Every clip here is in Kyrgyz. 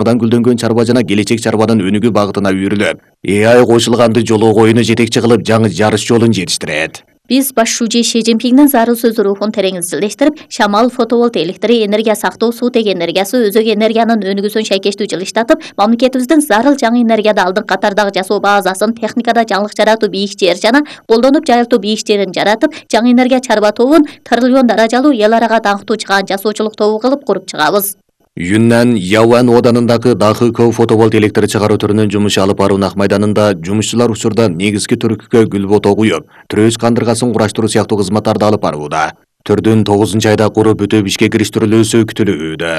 гүлдөнгөн чарба жана келечек чарбанын өнүгүү багытына үйрүлүп, AI кошулганды жолго коюуну жетекчи кылып, жаңы жарыш жолун жетиштирет. Биз баш шүүжө Ши Цзиньпиндин зарыл сөз рухун тереңизделештирип, шамал, фотоволт электри, энергия сактоо, суутек энергиясы, өзөк энергиянын өнүгүүсүн шайкештүү жылыштатып, мамлекетибиздин зарыл жаңы энергияда алдыңкы катардагы жасоо базасын, техникада жаңылык жаратуу бийикчер жана колдонуп жайылтуу бийикчерин жаратып, жаңы энергия чарба тобун триллион даражалуу эл арага даңктуу чыгаан жасоочулук тобу кылып куруп чыгабыз. Юннан Яван оданындагы Дахыков фотоволт электр чыгаруу түрүнүн жумушу алып баруу Ак майданында жумушчулар учурда негизги түркүккө гүл бото куюп, трөөс кандыргасын кураштыруу сыяктуу кызматтарды алып барууда. Түрдүн 9-айда куруп бүтүп ишке кириштирилүүсү күтүлүүдө.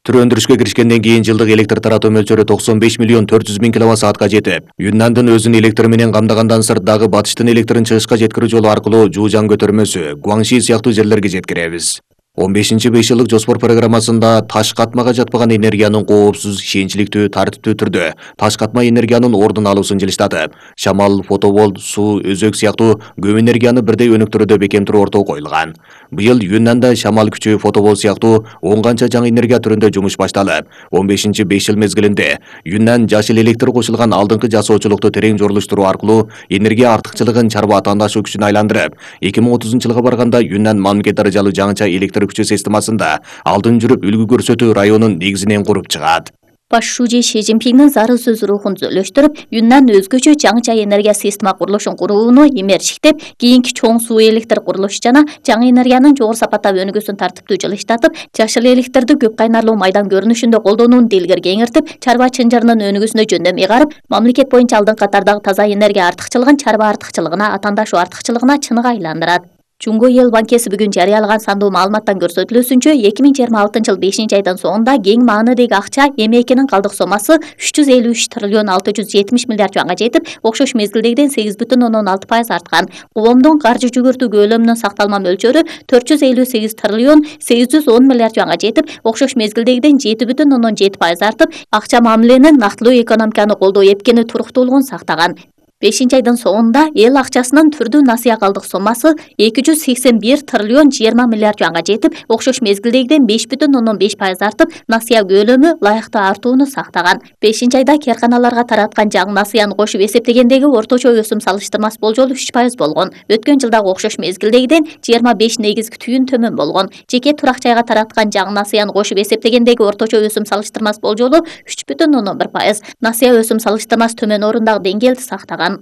Түр өндүрүшкө киришкенден кийин жылдык электр таратуу мөлчөрү 95 миллион 400 миң киловатт-саатка жетип, Юннандын өзүн электр менен камдагандан сырт дагы батыштын электрин чыгышка жеткирүү жолу аркылуу Жужан көтөрмөсү, Гуаңши сыяктуу жерлерге жеткиребиз. 15-5 жылдык жоспор программасында таш катмага жатпаган энергиянын коопсуз, ишенчликтүү, тартиптүү түрдө таш катма энергиянын ордун алуусун жылыштатып, шамал, фотоволт, суу, өзөк сыяктуу көп энергияны бирдей өнүктүрүүдө бекемтирүү ортого коюлган. Быйыл Юннанда шамал күчү, фотоволт сыяктуу 10 канча жаңы энергия түрүндө жумуш башталып, 15-5 жыл мезгилинде Юннан жашыл электр кошулган алдыңкы жасоочулукту терең жорлуштуруу аркылуу энергия артыкчылыгын чарба атаандашуу күчүнө айландырып, 2030-жылга барганда Юннан мамлекет даражалуу жаңыча электр күчү системасында алдын жүрүп үлгү көрсөтүү районун негизинен куруп чыгат. Баш шүүжө Ши Цзиньпиндин зарыл сөз рухун түзөлөштүрүп, Юннан өзгөчө жаңыча энергия система курулушун курууну эмерчиктеп, кийинки чоң суу электр курулушу жана жаңы энергиянын жогору сапаттагы өнүгүүсүн тартиптүү жылыштатып, жашыл электрди көп кайнарлуу майдан көрүнүшүндө колдонууну дилгер кеңиртип, чарба чынжырынын өнүгүүсүнө жөндөм ыйгарып, мамлекет боюнча алдыңкы катардагы таза энергия артыкчылыгын чарба артыкчылыгына, атаандашуу артыкчылыгына чыныгы айландырат. Жумго эл банкеси бүгүн жарыялаган сандуу маалыматтан көрсөтүлүүсүнчө 2026-жылы 5-айдын соңунда кең маанидеги акча эмекинин калдык сомасы 353 триллион 670 миллиард юанга жетип, окшош мезгилдегиден 8,6% арткан. Коомдун каржы жүгүртүү көлөмүнүн сакталма мөлчөрү 458 триллион 810 миллиард юанга жетип, окшош мезгилдегиден 7,7% артып, акча мамиленин нактылуу экономиканы колдоо эпкени туруктуулугун сактаган. 5-айдын соңунда эл акчасынын түрдүү насыя калдык сомасы 281 триллион 20 миллиард юанга жетип, окшош мезгилдегиден 5,5% артып, насыя көлөмү ылайыктуу артууну сактаган. 5-айда керканаларга тараткан жаңы насыяны кошуп эсептегендеги орточо өсүм салыштырмас болжолу 3% болгон. Өткөн жылдагы окшош мезгилдегиден 25 негизги түйүн төмөн болгон. Жеке турак жайга тараткан жаңы насыяны кошуп эсептегендеги орточо өсүм салыштырмас болжолу 3,1%. Насыя өсүм салыштырмас төмөн орундагы деңгээлди сактаган.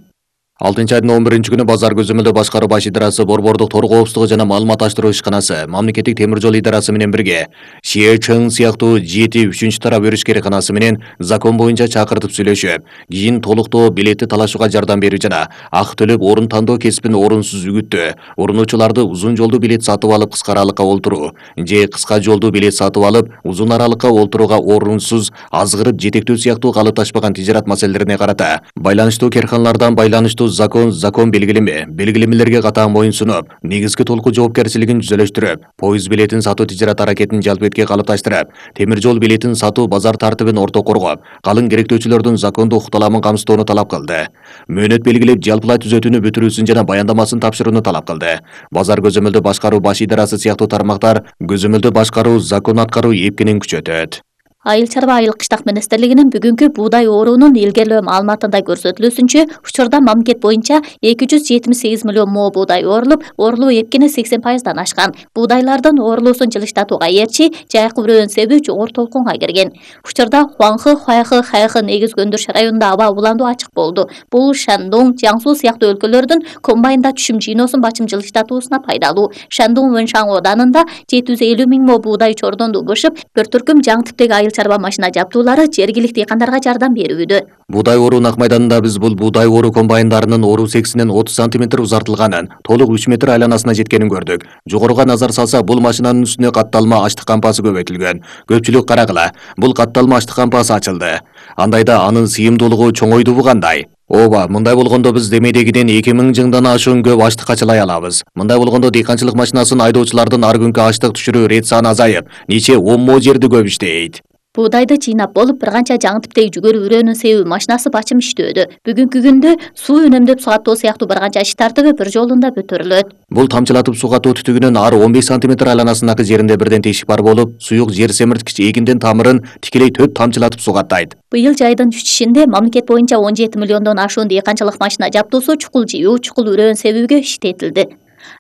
6-айдын 11-күнү базар көзөмөлдөө башкаруу баш идарасы, Борбордук тор коопсуздугу жана маалымат аштыруу ишканасы, мамлекеттик темир жол идарасы менен бирге Шиэчэн сыяктуу 7 тарап өрүш кереканасы менен закон боюнча чакыртып сүйлөшүп, кийин толуктоо билетти талашууга жардам берүү жана ак төлөп орун тандоо кесибин орунсуз үгүттөө, урунуучуларды узун жолдуу билет сатып алып кыска аралыкка олтуруу же кыска жолдуу билет сатып алып узун аралыкка олтурууга орунсуз азгырып жетектөө сыяктуу калыпташпаган тижарат маселелерине карата байланыштуу керканалардан байланыштуу закон белгилемелерге катаан моюн сунуп, негизги толуку жоопкерчилигин түзөлөштүрүп, поезд билетин сатуу тижарат аракетин жалпетке калыпташтырып, темир жол билетин сатуу базар тартибин орто коргоп, калың керектөөчүлөрдүн закондуу укукталамын камсыздоону талап кылды. Мөөнөт белгилеп, жалпылай түзөтүүнү бүтүрүүсүн жана баяндамасын тапшырууну талап кылды. Базар көзөмөлдөө башкаруу баш идарасы сыяктуу тармактар көзөмөлдөө башкаруу, закон аткаруу эпкенин күчөтөт. Айыл чарба айыл кыштак министрлигинин бүгүнкү буудай оорунун илгерлөө маалыматында көрсөтүлүүсүнчө, учурда мамлекет боюнча 278 миллион мо буудай оорулуп, оорулуу эпкени 80%дан ашкан. Буудайлардын оорулуусун жылыштатууга эрчи жайкы бүрөөнүн себеби жогору толкунга кирген. Учурда Хуаңхы, Хуайхы, Хайхы негизги өндүрүш районунда аба уландуу ачык болду. Бул Шандун, Жаңсу сыяктуу өлкөлөрдүн комбайнда түшүм жыйноосун бачым жылыштатуусуна пайдалуу. Шандун Вэншан оданында 750 миң мо буудай чордонду бышып, бір түркүм жаңы типтеги айыл чарба машина жабдуулары жергиликтүү дыйкандарга жардам берүүдө. Буудай оору Ак майданында биз бул буудай оору комбайндарынын оору сексинен 30 см узартылганын, толук 3 метр айланасына жеткенин көрдүк. Жогоруга назар салса, бул машинанын үстүнө катталма аштык кампасы көбөйтүлгөн. Көпчүлүк карагыла, бул катталма аштык кампасы ачылды. Андайда анын сыйымдуулугу чоңойдубу кандай? Ооба, мындай болгондо биз демейдегиден 2000 жыңдан ашуун көп аштык ачылай алабыз. Мындай болгондо дыйканчылык машинасын айдоочулардын ар күнкү аштык түшүрүү рет саны азайып, нече 10 мо жерди көп иштейт. Buğdaydı çiğnap bolup bir kança жаңы типтеги жүгөрү үрөөнүн себеби машинасы бачым иштөөдө. Бүгүнкү күндө суу үнөмдөп суугаттоо сыяктуу bir канча иш тартыбы bir жолунда көтөрүлөт. Бул тамчылатып суугаттоо түтүгүнүн ар 15 сантиметр айланасындагы жеринде бирден тешик бар болуп, суюк жер семирткич эгиндин тамырын тикелей төп тамчылатып суугаттайт. Быйыл жайдын чүчүшүндө мамлекет боюнча 17 миллиондон ашуун дыйканчылык машина жабдуусу чукул жыюу, чукул үрөөн себебиге иштетилди.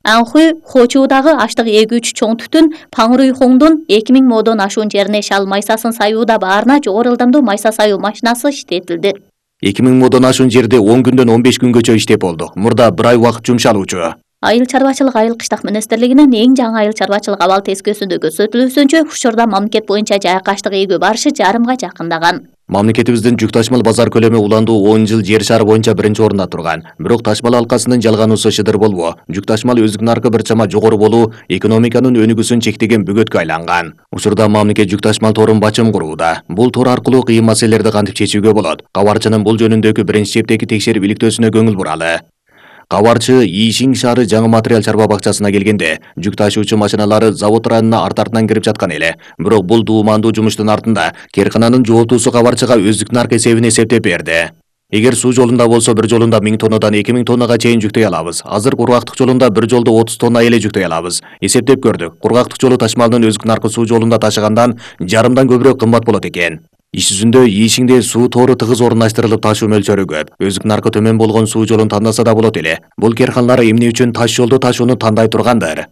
Анхуй Хочуудагы аштык эгүүчү чоң түтүн Паңруйхоңдун 2000 модон ашуун жерине шал майсасын саюуда баарына жогору ылдамдуу майса саюу машинасы иштетилди. 2000 модон ашуун жерде 10 күндөн 15 күнгөчө иштеп болду. Мурда bir ай убакыт жумшалуучу. Айыл чарбачылык айыл кыштак министрлигинин эң жаңы айыл чарбачылык абал тескөөсүндө көрсөтүлүүсүнчө учурда мамлекет боюнча жайык аштык эгүү барышы жарымга жакындаган. Мамлекетибиздин жүк ташмал базар көлөмү уландуу 10 жыл жер шары боюнча биринчи орунда турган. Бирок ташмал алкасынын жалгануусу шыдыр болбоо, жүк ташмал өздүк наркы бир чама жогору болуу экономиканын өнүгүүсүн чектеген бөгөткө айланган. Учурда мамлекет жүк ташмал торун бачым курууда. Бул тор аркылуу кыйын маселелерди кантип чечүүгө болот? Кабарчынын бул жөнүндөгү биринчи чептеги текшерип иликтөөсүнө көңүл буралы. Кабарчы Ишин шаары жаңы материал чарба бакчасына келгенде жүк ташуучу машиналары завод районуна арт-артынан кирип жаткан эле. Бирок бул дуумандуу жумуштун артында кээркананын жооптуусу кабарчыга өздүк нарк эсебин эсептеп берди. Эгер суу жолунда болсо bir жолунда 1000 тоннадан 2000 тоннага чейин жүктөй алабыз. Азыр кургактык жолунда bir жолдо 30 тонна эле жүктөй алабыз. Эсептеп көрдүк. Кургактык жолу ташмалдын өздүк наркы суу жолунда ташыгандан жарымдан көбүрөөк кымбат болот экен. Иш жүзүндө Ишиңде суу тору тыгыз орундаштырылып ташуу мөлчөрү көп. Өздүк наркы төмөн болгон суу жолун тандаса да болот эле. Бул керканалар эмне үчүн таш жолду ташууну тандай тургандыр?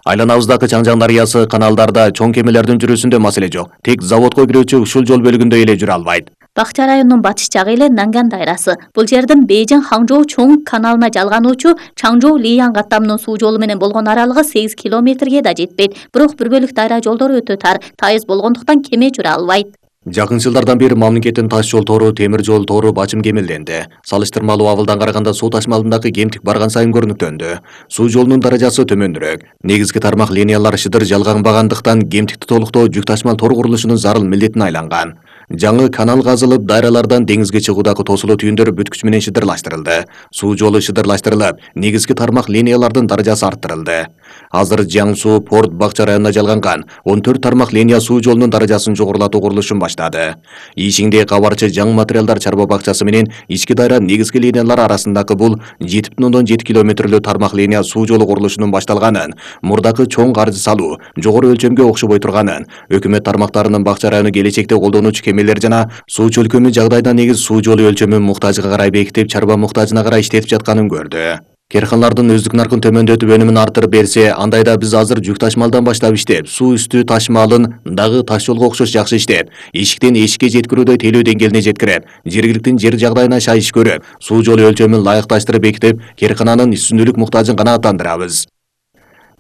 Айланабыздагы Чаңжаң дарыясы, каналдарда, чоң кемелердин жүрүүсүндө маселе жок. Тек заводко кирүүчү ушул жол бөлүгүндө эле жүрө албайт. Бакча районунун батыш жагы эле Нанган дайрасы. Бул жердин Бейжиң Хаңжоу чоң каналына жалгануучу Чаңжоу Лиян каттамынын суу жолу менен болгон аралыгы 8 километрге да жетпейт. Бирок бир бөлүк дайра жолдору өтө тар, тайыз болгондуктан кеме жүрө албайт. Жакын жылдардан бери мамлекеттин таш жол тору, темир жол тору бачым кемелденди. Салыштырмалуу абалдан караганда суу ташмалындагы кемтик барган сайын көрүнүктөндү. Суу жолунун даражасы төмөнүрөөк. Негизги тармак линиялар шыдыр жалганбагандыктан кемтикти толуктоо жүк ташмал тор курулушунун зарыл милдетине айланган. Жаңы канал казылып, дайралардан деңизге чыгуудагы тосулуу түйүндөр бүткүч менен шыдырлаштырылды. Суу жолу шыдырлаштырылып, негизги тармак линиялардын даражасы арттырылды. Азыр Жаңсуу порт бакча районуна жалганган 14 тармак линия суу жолунун даражасын жогорулатуу курулушун баштады. Ишиңде кабарчы жаңы материалдар чарба бакчасы менен ички дайра негизги линиялар арасындагы бул 7,7 километрлүү тармак линия суу жолу курулушунун башталганын, мурдакы чоң каржы салуу жогору өлчөмгө окшобой турганын, өкмөт тармактарынын бакча району келечекте колдонуучу кемелер жана суу чөлкөмү жагдайда негиз суу жолу өлчөмүн муктажга карай бекитип, чарба муктажына карай иштетип жатканын көрдү. Керканалардын өздүк наркын төмөндөтүп өнүмүн арттырып берсе, андайда биз азыр жүк ташмалдан баштап иштеп, суу үстү ташмалын дагы таш жолго окшош жакшы иштеп, эшиктен эшикке жеткирүүдөй тейлөө деңгээлине жеткирип, жергиликтин жер жагдайына шайыш көрүп, суу жолу өлчөмүн ылайыкташтырып бекитип, керкананын үстүнчүлүк муктажын канааттандырабыз.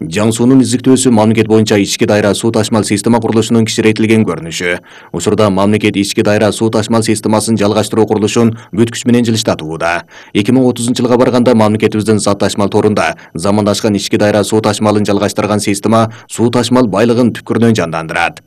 Жаңсуунун издиктөөсү мамлекет боюнча ички дайра суу ташмал система курулушунун кичирейтилген көрүнүшү. Учурда мамлекет ички дайра суу ташмал системасын жалгаштыруу курулушун бүткүч менен жылыштатууда. 2030-жылга барганда мамлекетибиздин зат ташмал торунда замандашкан ички дайра суу ташмалын жалгаштырган система суу ташмал байлыгын түпкүрүнөн жандандырат.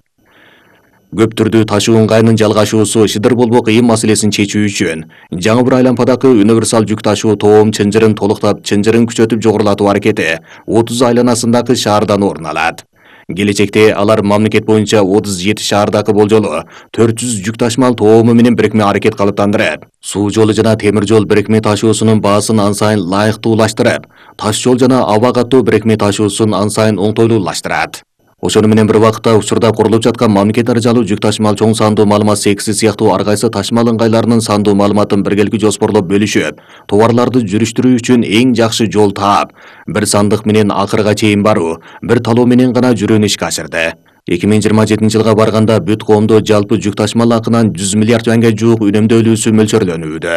Көп түрдүү ташуу ыңгайынын жалгашуусу шыдыр болбоо кыйын маселесин чечүү үчүн жаңы bir айлампадагы универсал жүк ташуу тоом чынжырын толуктап, чынжырын күчөтүп жогорулатуу аракети 30 айланасындагы шаардан орун алат. Келечекте алар мамлекет боюнча 37 шаардагы болжолу 400 жүк ташмал тоому менен бирикме аракет калыптандырып, суу жолу жана темир жол бирикме ташуусунун баасын ан сайын ылайыктуулаштырып, таш жол жана аба каттоо бирикме ташуусун ан сайын оңтойлуулаштырат. Ошону менен bir убакытта учурда курулуп жаткан мамлекет аралуу жүк ташмал чоң сандуу маалымат секси сыяктуу ар кайсы ташмал ыңгайларынын сандуу маалыматын биргеликти жоспорлоп бөлүшүп, товарларды жүрүштүрүү үчүн эң жакшы жол таап, bir сандык менен акырга чейин баруу, bir талоо менен гана жүрүүнү ишке ашырды. 2027-жылга барганда бүт коомдо жалпы жүк ташмал акынан 100 миллиард юанга жуук үнөмдөлүүсү мөлчөрлөнүүдө.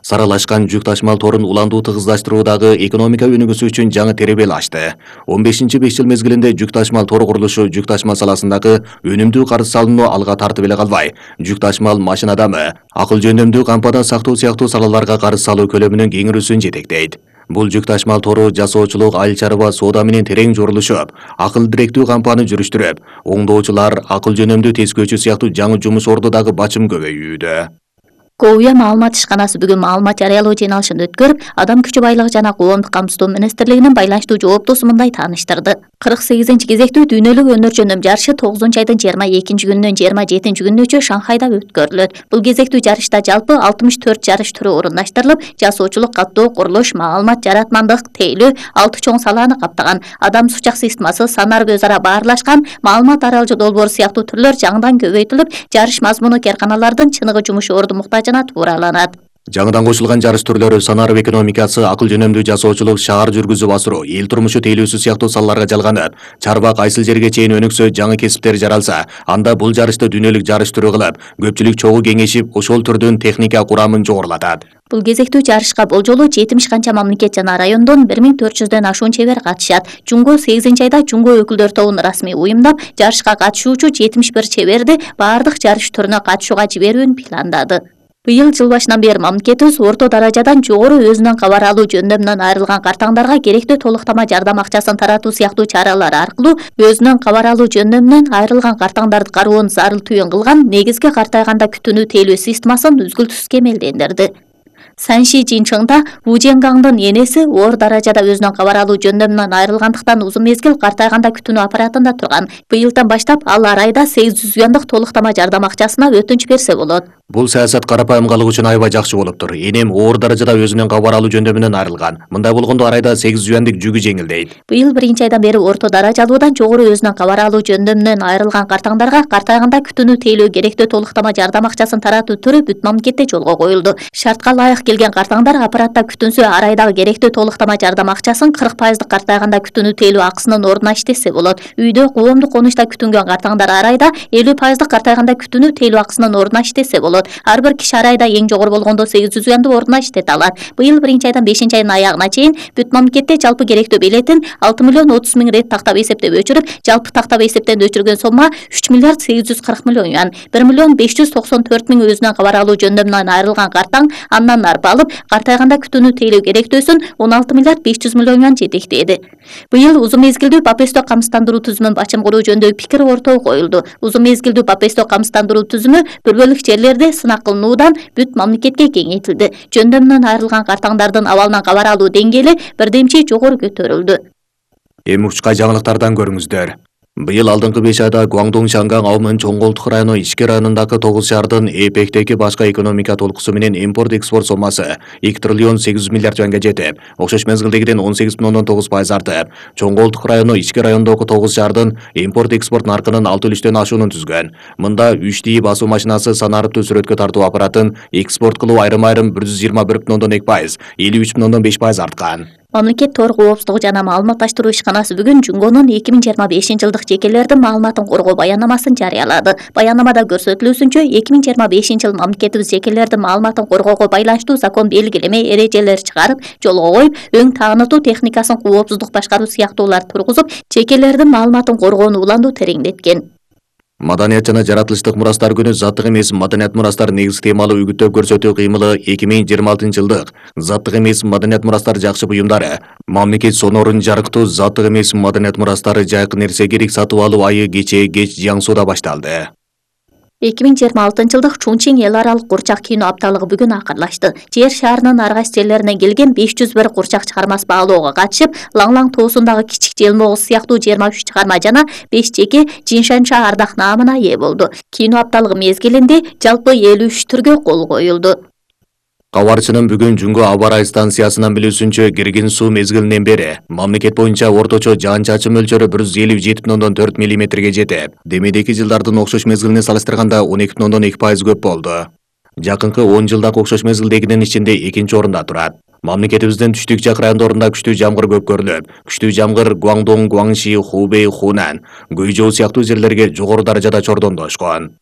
Саралашкан жүк ташмал торун уландуу тыгыздаштыруудагы экономика өнүгүүсү үчүн жаңы теребел ачты. 15-5 жыл мезгилинде жүк ташмал тор курулушу жүк ташмал саласындагы өнүмдүү карыз салууну алга тартып эле калбай, жүк ташмал машина адамы, акыл жөндөмдүү кампада сактоо сыяктуу салаларга карыз салуу көлөмүнүн кеңирүүсүн жетектейт. Бул жүк ташмал тору жасоочулук, айыл чарба, соода менен терең жорулушуп, акыл директүү кампаны жүрүштүрүп, оңдоочулар, акыл жөнөмдүү тескөөчү сыяктуу жаңы жумуш орду дагы бачым көбөйүүдө. Коуя маалымат ишканасы бүгүн маалымат жарыялоо жыйналышын өткөрүп, адам күчү байлыгы жана коомдук камсыздоо министрлигинин байланыштуу жооптусу мындай тааныштырды. 48 кезектүү дүйнөлүк өнөр жөнөм жарышы 9 айдын 22 күнүнөн 27 күнүнөчө Шанхайда өткөрүлөт. Бул кезектүү жарышта жалпы 64 жарыш түрү орунаштырылып, жасоочулук, каттоо, курулуш, маалымат жаратмандык, тейлөө 6 чоң салааны каптаган. Адам сучак системасы, санар өз ара баарлашкан, маалымат аралжы долбоор сыяктуу түрлөр жаңыдан көбөйтүлүп, жарыш мазмуну керканалардын чыныгы жумуш орду муктажына туураланат. Жаңыдан кошулган жарыш түрлөрү санарып экономикасы, акыл жөнөмдүү жасоочулук, шаар жүргүзүп асыруу, эл турмушу тейлөөсү сыяктуу салаларга жалганат. Чарба кайсыл жерге чейин өнүксө, жаңы кесиптер жаралса, анда бул жарышты дүйнөлүк жарыш түрү кылып, көпчүлүк чогуу кеңешип, ошол түрдүн техника курамын жогорулатат. Бул кезектүү жарышка болжолу 70 канча мамлекет жана райондон 1400дөн ашуун чебер катышат. Жунго 8 айда Жунго өкүлдөр тобун расмий уюмдап, жарышка катышуучу 71 чеберди баардык жарыш түрүнө катышууга жиберүүнү пландады. Быйыл жыл башынан бери мамлекетибиз орто даражадан жогору өзүнөн кабар алуу жөндөмүнөн айрылган картаңдарга керектүү толуктама жардам акчасын таратуу сыяктуу чаралар аркылуу өзүнөн кабар алуу жөндөмүнөн айрылган картаңдарды кароонун зарыл түйүн кылган негизги картайганда күтүүнү тейлөө системасын үзгүлтүсүз кемелдендирди. Санши Жинчыңда Ву Женгаңдын энеси оор даражада өзүнөн кабар алуу жөндөмүнөн айрылгандыктан узун мезгил картайганда күтүүнү аппаратында турган. Быйылдан баштап ал ар айда 800 юандык толуктама жардам акчасына өтүнүч берсе болот. Бул саясат карапайымгалык үчүн аябай жакшы болуптур. Энем оор даражада өзүнөн кабар алуу жөндөмүнөн айрылган. Мындай болгондо ар айда 800 юандык жүгү жеңилдейт. Быйыл 1 айдан бери орто даражалуудан жогору өзүнөн кабар алуу жөндөмүнөн айрылган картаңдарга картайганда күтүүнү тейлөө керектүү толуктама жардам акчасын таратуу түрү бүт мамлекетте жолго коюлду. Шартка ылайык келген картаңдар аппаратта күтүнсө ар айдагы керектүү толуктама жардам акчасын 40% картайганда күтүүнү тейлөө акысынын ордуна иштесе болот. Үйдө коомдук конучта күтүнгөн картаңдар ар айда 50% картайганда күтүүнү тейлөө акысынын ордуна иштесе болот. Ар бир киши ар айда эң жогору болгондо 800 юанды ордуна иштете алат. Быйыл 1 айдан 5 айдын аягына чейин бүт мамлекетте жалпы керектүү билетин 6 миллион 30 миң рет тактап эсептеп өчүрүп, жалпы тактап эсептен өчүргөн сомма 3 миллиард 840 миллион юан. 1 миллион 594 миң өзүнөн кабар алуу жөндөмүнөн айрылган картаң андан арпа алып, картайганда күтүүнү тейлөө керектөөсүн 16 миллиард 500 миллион юан жетектеди. Быйыл узун мезгилдүү папесто камсыздандыруу түзүмүн бачым куруу жөнүндө пикир ортого коюлду. Узун мезгилдүү папесто камсыздандыруу түзүмү бир бөлүк жерлерде сынак кылынуудан бүт мамлекетке кеңейтилди. Жөндөмүнөн айрылган картаңдардын абалынан кабар алуу деңгээли бирдемчи жогору көтөрүлдү. Эми учка жаңылыктардан көрүңүздөр. Быйыл алдыңкы 5 айда Гуандун, Шанган, Аумын, Чоңголтук району, Ички районундагы 9 шаардын эпектеги башка экономика толкусу менен импорт-экспорт сомасы 2 триллион 800 миллиард юанга жетип, окшош мезгилдегиден 18,9% артып, Чоңголтук району, Ички райондогу 9 шаардын импорт-экспорт наркынын 6,3 ашуунун түзгөн. Мында 3D басуу машинасы, санарыптуу сүрөткө тартуу аппаратын экспорт кылуу айрым-айрым 121,2%, 53,5% арткан. Мамлекет тор коопсуздугу жана маалыматташтыруу ишканасы бүгүн Жунгонун 2025 жылдык жекелердин маалыматын коргоо баянамасын жарыялады. Баянамада көрсөтүлүүсүнчө 2025 жыл мамлекетибиз жекелердин маалыматын коргоого байланыштуу закон белгилеме эрежелер чыгарып, жолго коюп, өң таанытуу техникасын коопсуздук башкаруу сыяктуулар тургузуп, жекелердин маалыматын коргоону уланду тереңдеткен. Маданият жана жаратылыштык мурастар күнү заттык эмес маданият мурастар негизги темалуу үгүттөө көрсөтүү кыймылы 2026 жылдык заттык эмес маданият мурастар жакшы буюмдары, мамлекет сонорун жарыктуу заттык эмес маданият мурастары жайкы нерсе керек сатып алуу айы кеч Жиаң сууда башталды. 2026 жылдык Чунчиң эл аралык курчак кино апталыгы бүгүн акырлашты. Жер шаарынын ар кайсы жерлеринен келген 501 курчак чыгармасы баалоого катышып, Лаңлаң тоосундагы Кичик Желмогуз сыяктуу 23 чыгарма жана 5 жеке Жиншанша ардак наамына ээ болду. Кино апталыгы мезгилинде жалпы 53 түргө кол коюлду. Кабарчынын бүгүн Жунго аба ырайы станциясынан билүүсүнчө киргин суу мезгилинен бери мамлекет боюнча орточо жаан-чачын мөлчөрү 157,4 мм жетип, демейдеги жылдардын окшош мезгилине салыштырганда 12,2% көп болду. Жакынкы 10 жылдагы окшош мезгилдегинин ичинде 2-нчи орунда турат. Мамлекетибиздин түштүк жак райондорунда күчтүү жамгыр көп көрүлөт. Күчтүү жамгыр Гуандун, Гуаңши, Хубей, Хунан, Гуйжоу сыяктуу жерлерге жогору даражада чордондошкон.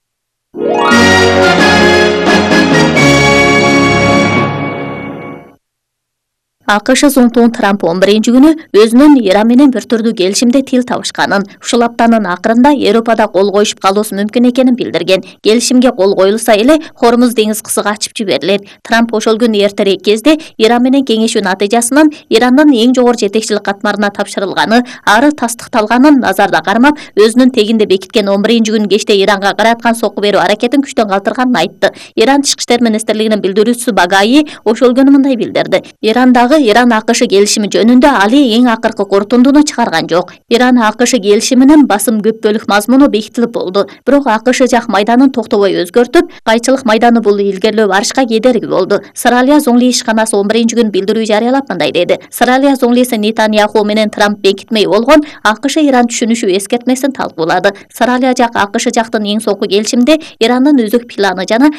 АКШ зонтугун Трамп 11 күнү өзүнүн Иран менен бир түрдүү келишимде тил табышканын, ушул аптанын акырында Европада кол коюшуп калуусу мүмкүн экенин билдирген. Келишимге кол коюлса эле Хормуз деңиз кысыгы ачып жиберилет. Трамп ошол күнү эртерээк кезде Иран менен кеңешүү натыйжасынын Ирандын эң жогору жетекчилик катмарына тапшырылганы, ары тастыкталганын назарда кармап, өзүнүн тегинде бекиткен 11 күнү кечте Иранга караткан сокку берүү аракетин күчтөн калтырганын айтты. Иран Тышкы иштер министрлигинин билдирүүчүсү Багаи ошол күнү мындай билдирди. Ирандагы Иран АКШ келишими жөнүндө али эң акыркы корутундуну чыгарган жок. Иран АКШ келишиминин басым көппөлүк мазмуну бекитилип болду. Бирок АКШ жак майданын токтобой өзгөртүп, кайчылык майданы бул илгерлөө барышка кедерги болду. Сыралия Зоңли ишканасы 11-күн билдирүү жарыялап мындай деди. Сыралия Зоңлиси Нетаньяху менен Трамп бекитмей болгон АКШ Иран түшүнүшү эскертмесин талкуулады. Сыралия жак АКШ жактын эң соңку келишимде Ирандын өзөк планы жана